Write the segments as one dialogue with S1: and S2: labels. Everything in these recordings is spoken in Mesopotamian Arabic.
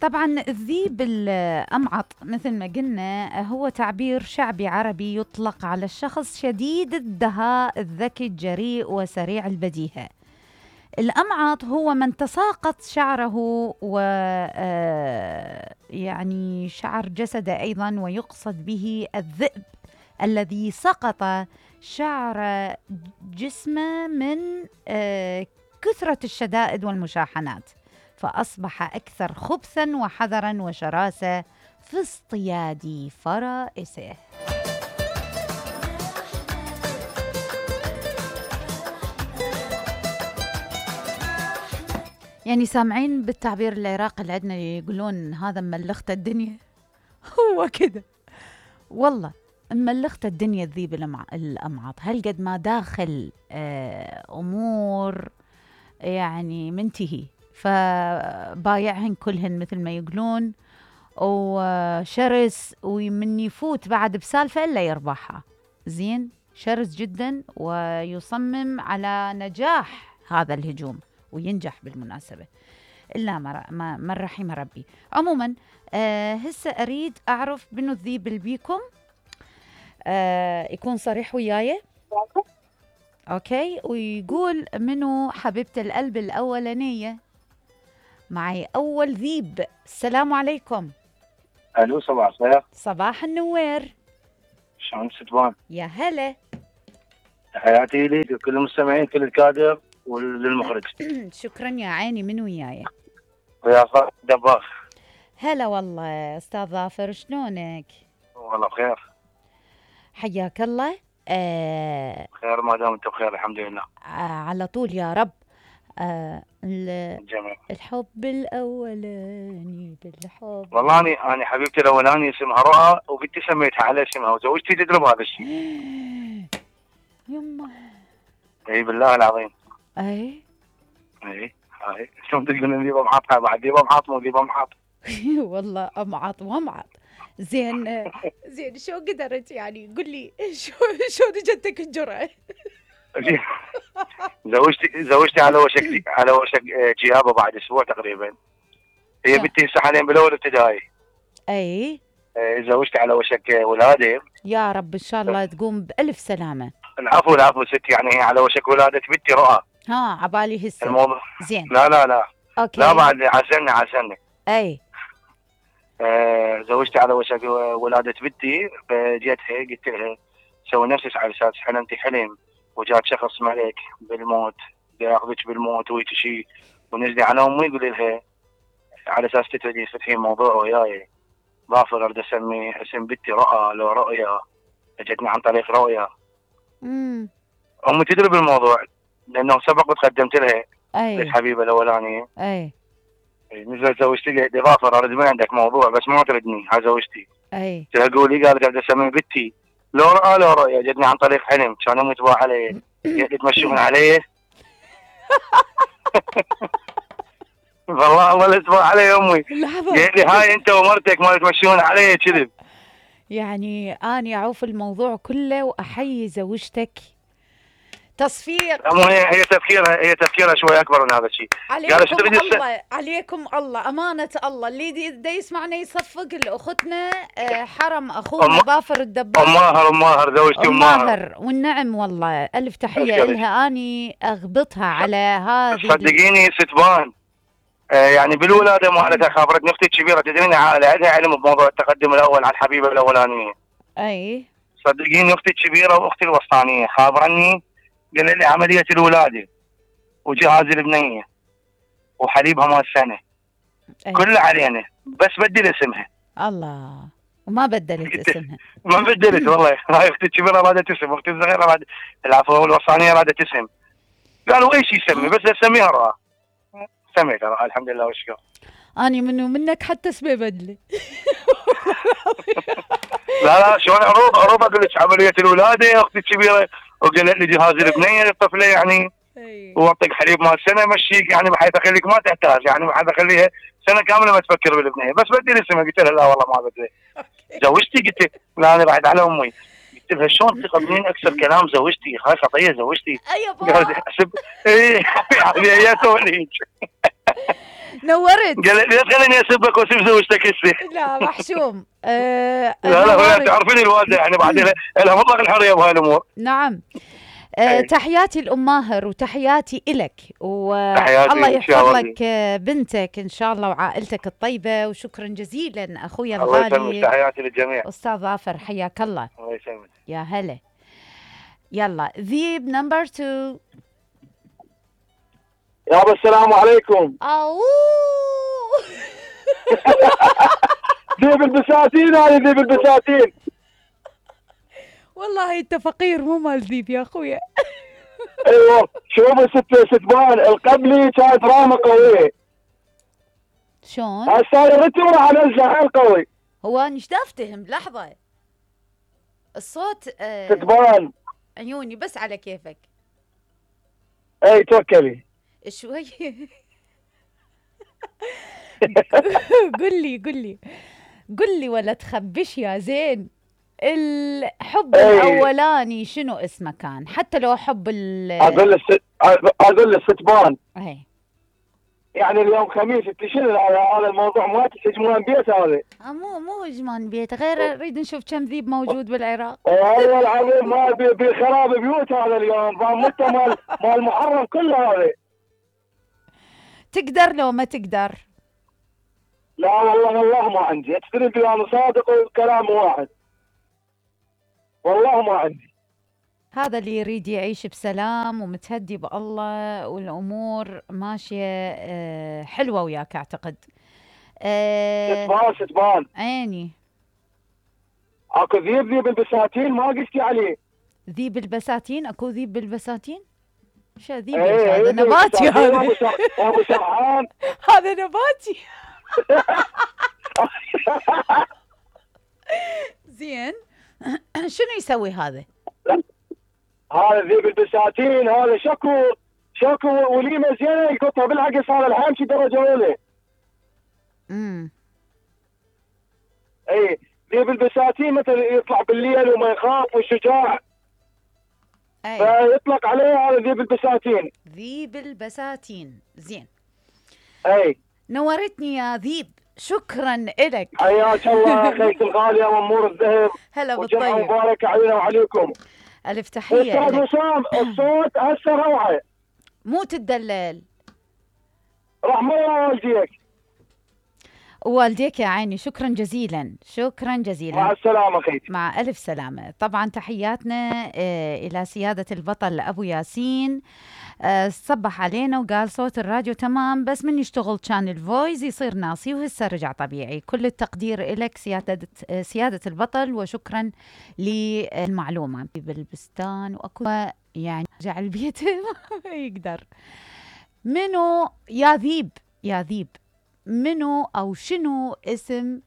S1: طبعا الذيب الأمعط مثل ما قلنا هو تعبير شعبي عربي يطلق على الشخص شديد الدهاء الذكي الجريء وسريع البديهة. الأمعط هو من تساقط شعره و يعني شعر جسده أيضا، ويقصد به الذئب الذي سقط شعر جسمه من كثرة الشدائد والمشاحنات، فأصبح أكثر خبثاً وحذراً وشراسة في اصطياد فرائسه. يعني سامعين بالتعبير العراقي اللي عندنا يقولون هذا ملخت الدنيا. هو كده والله، ملخت الدنيا الذيب الأمعط. هل قد ما داخل أمور يعني منتهي، فبايعهن كلهن مثل ما يقولون، وشرس ومن يفوت بعد بسالفة إلا يربحها. زين، شرس جدا ويصمم على نجاح هذا الهجوم، وينجح بالمناسبة إلا من رحم ربي. عموما هسه أريد أعرف منو الذيب اللي بيكم، يكون صريح وياي. أوكي، ويقول منو حبيبة القلب الأولانية. معي أول ذيب. السلام عليكم.
S2: الو، صباح الخير.
S1: صباح النوير.
S2: شلون ستبان؟
S1: يا هلا.
S2: تحياتي لك لكل المستمعين، كل الكادر وللمخرج.
S1: شكرا يا عيني. من وياي؟
S2: ويا خالد دباخ.
S1: هلا والله استاذ ظافر، شلونك؟
S2: والله بخير.
S1: حياك الله.
S2: خير ما دام انت بخير الحمد لله.
S1: على طول يا رب.
S2: جميل.
S1: الحب الاولاني بالحب.
S2: والله انا حبيبتي الاولاني اسمها رؤى، وبنتي سميتها على اسمها، وزوجتي تدرب هذا الشيء.
S1: يما.
S2: اي بالله العظيم.
S1: اي
S2: شلون تقولون ذيبه معاطها؟ بعد ذيبه معاط مو ذيبه معاط.
S1: والله امعط وامعط. زين شو قدرت يعني؟ قل لي شو اجتك الجرأة؟
S2: زوجتي على وشك جيابه بعد اسبوع تقريبا. هي بنتي هسه حاليا بالاول ابتدائي.
S1: اي.
S2: زوجتي على وشك ولاده.
S1: يا رب ان شاء الله تقوم بألف سلامة.
S2: العفو ست، يعني هي على وشك ولادة بنتي رؤى.
S1: عبالي هسه
S2: الموضوع.
S1: زين.
S2: لا
S1: اوكي.
S2: لا بعد عسلنا.
S1: اي.
S2: زوجتي على وشك ولادة بنتي، فجيتها قلت لها سوي نفسك على اساس حلمتي حلم، وجات شخص ملك بالموت بياخذك بالموت ويك شيء، ونزلي على امي يقول لها على اساس تتريدي تفتحين موضوع وياي. ظافر اريد اسمي اسم بنتي رؤى، لو رؤيا اجتني عن طريق رؤيا. امي تدري بالموضوع لانه سبق وتقدمت لها. الحبيبه الاولانيه. نزلت زوجتي لي ظافر اريد من عندك موضوع بس ما تردني. هاي زوجتي. قلت لها قولي. قالت اريد اسمي بنتي لو رؤى لو رؤيا، جتني عن طريق حلم، كان امي تباع علي يتمشون علي. والله ولا تباع علي امي. قالت لي هاي انت ومرتك ما تمشون علي كذب.
S1: يعني انا اعوف الموضوع كله واحيي زوجتك. تصفير.
S2: هي تفكيرها شوي اكبر من هذا الشيء.
S1: عليكم الله امانه الله، اللي دا يسمعنا يصفق لاختنا حرم اخونا ظافر الدباغ.
S2: ام ماهر زوجتي ام ماهر.
S1: والنعم والله الف تحيه لها. اني اغبطها على هذه.
S2: صدقيني ستبان يعني بالولاده مالتها خابرتني اختي الكبيره، تدرين عندها علم بموضوع التقدم الاول على الحبيبه الاولانيه.
S1: اي
S2: صدقيني اختي الكبيره واختي الوسطانيه خابرني، قال لي عمليه الولاده وجهاز البنيه وحليبها مال سنه كله علينا، بس بدل اسمها.
S1: الله، وما بدلت اسمها.
S2: ما بدلت والله. هاي اختي الكبيره رادت اسم، اختي الصغيره العفو الوسطانيه رادت اسم. قالوا ايش يسمي بس اسميها رؤى. سميتها رؤى الحمد لله والشكر.
S1: اني منك حتى اسمي بدلي.
S2: لا شلون عروض اقول لك عمليه الولاده اختي الكبيره، وقالت لي جهاز البنيه للطفله يعني واعطيك حليب مال سنه مشيك يعني بحيث اخليك ما تحتاج، يعني بحيث اخليها سنه كامله ما تفكر بالبنيه، بس بدي اسمها. قلت لها لا والله ما بدي. زوجتي قلت لا انا بعد على امي. قلت لها شلون تقبلين اكثر كلام زوجتي؟ هاي خطيه زوجتي.
S1: اي بابا.
S2: اي يعني هي توليك.
S1: نورت.
S2: قال لي لا خليني اسبك واسب زوجتك هسه.
S1: لا محشوم.
S2: لا
S1: نورت.
S2: تعرفين الوالده يعني بعد لها مطلق الحريه بهاي الامور.
S1: نعم. تحياتي لأم ماهر وتحياتي إلك، والله يحفظ لك بنتك إن شاء الله وعائلتك الطيبة، وشكرا جزيلا أخويا الغالي.
S2: الله يسلمك، تحياتي للجميع.
S1: أستاذ ظافر حياك الله.
S2: الله يسلمك.
S1: يا هلا. يلا ذيب نمبر 2.
S3: يابا السلام عليكم. ذيب البساتين، هذه ذيب البساتين.
S1: والله انت فقير مو مال ذيب يا اخويا.
S3: ايوه شوف ستبان القبلي كانت رامه قويه.
S1: شلون؟
S3: هسه الرتم راح انزل حيل قوي.
S1: هو انا ايش افتهم لحظه الصوت
S3: ستبان
S1: عيوني بس على كيفك.
S3: اي توكلي
S1: شوي. قل لي ولا تخبش يا زين. الحب الاولاني شنو اسمه كان؟ حتى لو حب
S3: اقول الستبان.
S1: اي
S3: يعني اليوم خميس انت شنو هذا الموضوع ما تهجمون بيت هذا؟
S1: مو هجمان بيت، غير نريد نشوف كم ذيب موجود بالعراق.
S3: والله العظيم ما بخراب بيوت هذا اليوم، فمت مال محرم كله هذا.
S1: تقدر لو ما تقدر؟
S3: لا والله ما عندي، تدري انا صادق وكلام واحد. والله ما عندي.
S1: هذا اللي يريد يعيش بسلام ومتهدي بالله والامور ماشيه حلوه وياك اعتقد.
S3: ستبان
S1: عيني.
S3: اكو ذيب البساتين ما قلتي عليه.
S1: ذيب البساتين؟ اكو ذيب بالبساتين؟ شو ذيب؟ هذا نباتي. هذا
S3: ابو شرحان.
S1: هذا نباتي. زين. شنو يسوي هذا؟
S3: هذا ذيب البساتين، هذا شكو وليمه زينه يقطها بالعكس، هذا الحامشي درجه اولى. اي ذيب البساتين مثلا يطلع بالليل وما يخاف وشجاع. فيطلق عليه هذا ذيب البساتين.
S1: ذيب البساتين. زين.
S3: اي
S1: نورتني يا ذيب، شكرا لك.
S3: حياك الله اخيك الغاليه وامور الذهب.
S1: هلا بالطيب.
S3: وجمعه مباركه علينا وعليكم.
S1: الف تحيه.
S3: استاذ وسام الصوت هسه روعه.
S1: مو تدلل.
S3: رحم الله والديك.
S1: والديك يا عيني، شكرا جزيلا.
S3: مع السلامه اخيتي.
S1: مع الف سلامه. طبعا تحياتنا الى سياده البطل ابو ياسين. صبح علينا وقال صوت الراديو تمام، بس من يشتغل كان الفويس يصير ناصي وهسه رجع طبيعي. كل التقدير لك سيادة البطل، وشكرا للمعلومة. بالبستان واكو يعني رجع البيت. يقدر. منو يا ذيب منو او شنو اسم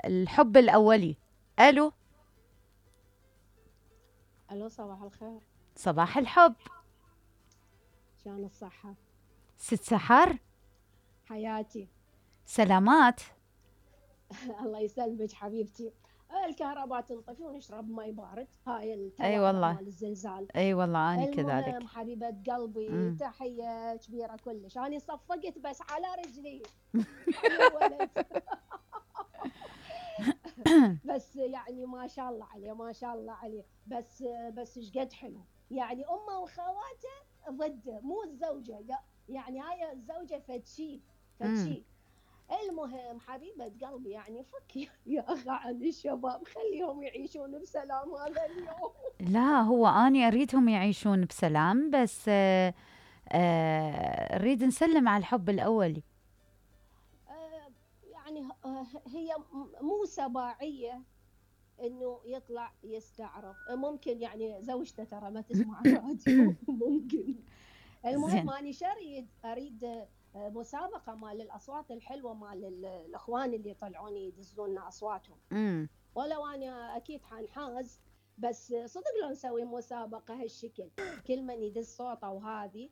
S1: الحب الاولي؟ الو
S4: صباح الخير.
S1: صباح الحب.
S4: شلون الصحة؟
S1: ست سحر
S4: حياتي.
S1: سلامات.
S4: الله يسلمك حبيبتي. الكهرباء تنطفي ونشرب ماي بارد. هاي
S1: اي والله
S4: مال الزلزال.
S1: اي والله انا كذلك.
S4: المهم حبيبة قلبي تحية كبيرة كلش. انا صفقت بس على رجلي. بس يعني ما شاء الله عليه ما شاء الله عليه. بس ايش قد حلو يعني. امه وخواته ضده مو الزوجه، يعني هاي الزوجه فدشي. المهم حبيبه قلبي يعني فك يا اخي عن الشباب، خليهم يعيشون بسلام هذا اليوم.
S1: لا هو اني اريدهم يعيشون بسلام، بس اريد نسلم على الحب الاولي.
S4: يعني هي مو سباعيه انه يطلع يستعرض. ممكن يعني زوجته ترى ما تسمع راديو. ممكن. المهم اني اريد مسابقه مال الاصوات الحلوه مال الاخوان اللي يطلعون يدزون لنا اصواتهم. ولو انا اكيد حنحاز، بس صدق لو نسوي مسابقه هالشكل كل من يدز صوته وهذه